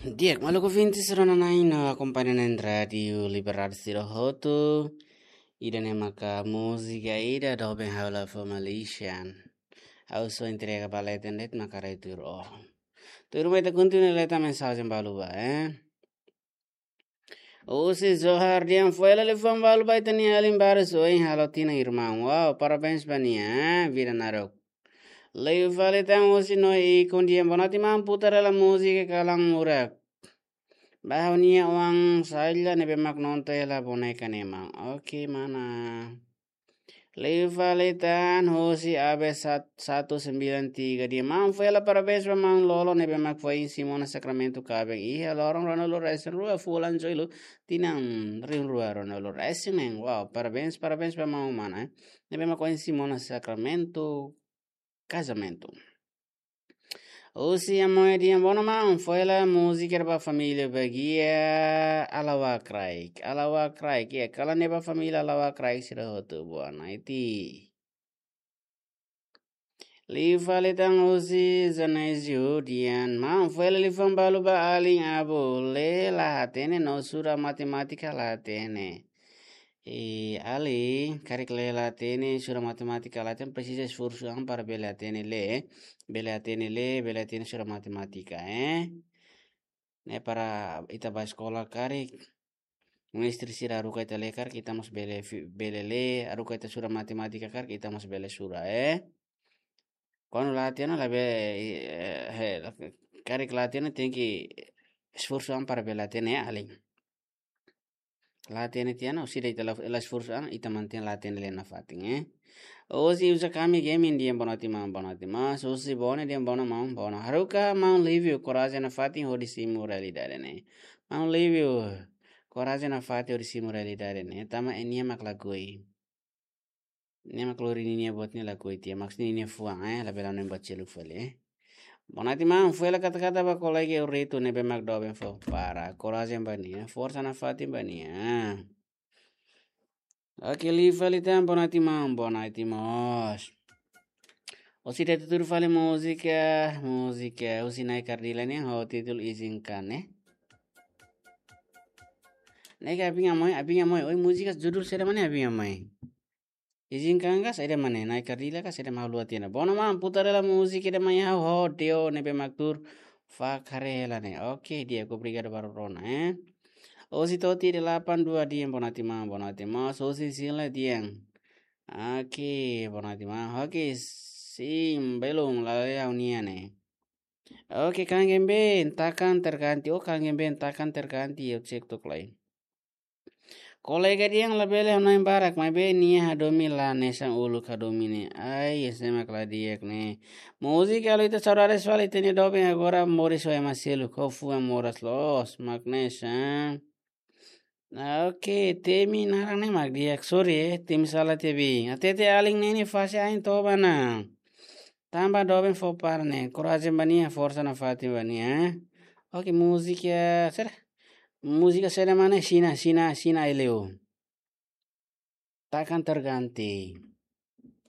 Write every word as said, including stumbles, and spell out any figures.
Di'ak, maluk ouvinte sira-ne'e no akompaña na'in Rádiu Liberdade sira hotu. Ida-ne'e maka múzika ida doben ha'u la fó Malaysian. Ha'u só entrega ba leten de'it maka retur ó. Tuirmai ita kontinua leta mensajen balu ba, eh. Husi Johar dehan foin hela liafuan balu ba ita-nia alin barak ohin halo tinan irmaun. Wow, parabéns ba nia, eh, vida naruk. Liu fali tan husi Noé Ikon dehan boa noite maun, putar hela múzika Kalan Murak. Ba ha'u-nia oan Saila ne'ebé mak nonton hela boneka ne'e maun. Oke, mana. Liu fali tan husi A B sat-, satu sembilan tiga dehan maun foin hela parabéns ba maun Lolo ne'ebé mak foin simu ona sakramentu kaben iha loron ruanulu-resin-rua fulan Jullu tinan rihun rua ruanulu-resin-neen. Wow, parabéns, parabéns ba maun mana, eh. Ne'ebé mak foin simu ona sakramentu kazamentu. Husi Amoy dehan boa noite maun, foin hela múzika ba família bagia Alawa Kraik. Alawa Kraik, ya, kalan ne'e ba família Alawa Kraik sira hotu boa noite. Liu fali tan husi Zanezio dehan maun, foin hela liafuan balu ba alin Abu, lee la hatene no sura matemátika la hatene. E, alin, karik lee la hatene, sura matemátika la hatene, presiza esforsu an para bele hatene lee, bele hatene lee, bele hatene sura matemátika, eh. Ne'e para ita ba eskola karik, mestre sira haruka ita lee karik, ita mós bele fi-, bele lee, haruka ita sura matemátika karik, ita mós bele sura, eh. Kuandu la hatene, labele, eh, he, karik la hatene, tenke esforsu an para bele hatene, eh, alin. La hatene tiha ona, orsida ita la, la esforsu an, ita mantein la hatene lee nafatin, eh. Husi Uza Kami Gaming dehan boa noite maun, boa noite maun. Husi Bone dehan boa noite maun, boa noite. Haruka maun Livio, korajen nafatin hodi simu realidade ne'e. Maun Livio, korajen nafatin hodi simu realidade ne'e. Tanba nia mak lakohi. Nia mak lori ninia buat ne'e lakohi tiha, maksudnya ninia fuan, eh, labele hanoin buat seluk fali, eh. Boa noite maun, foin hela kata-kata ba kolega Eurito ne'ebé mak doben fó para. Korajen ba nia, forsa nafatin ba nia. Oke, liu fali tan, boa noite maun, boa noite mós. Orsida ita tuur fali múzika, múzika husi Nai Kardila nian ho títulu Izinkan, eh. Ne'e ka Abin Amoy, Abin Amoy, oi, múzika judul saida mak ne'e Abin Amoy? Izinkan ka saida mak ne'e, Nai Kardila ka saida mak, ha'u haluha tiha ona. Boa noite maun, putar hela múzika ida mai ha'u ho Deo ne'ebé mak tuur fak haree hela ne'e. Oke, di'ak, obrigadu barak rona, eh. Husi Toti delapan dua dehan boa noite maun, boa noite maun. Husi Sila dehan. Oke, boa noite maun. Oke, sim, belum, la lee ha'u-nian ne'e. Oke, Kang Gembe, takkan terganti. Oh, Kang Gembe, takkan terganti, ha'u cek tok lai. Kolega dehan labele hanoin barak, maibé nia hadomi la hanesan uluk hadomi ne'e. Ai, ese mak la di'ak ne'e. Múzika halo ita saudades fali, ita-nia doben agora moris ho ema seluk, ho fuan moras loos, mak ne'e sa. Ah, oke, temi naran ne'e mak di'ak, sorry, eh, temi sala tiha be. Hatete alin ne'e nia fase ain toba ona. Tanba doben fó para ne'e, korajen ba nia, forsa nafatin ba nia, eh. Oke, múzika, saida? Múzika saida mak ne'e, Xina, Xina, Xina Eleu. Takkan terganti.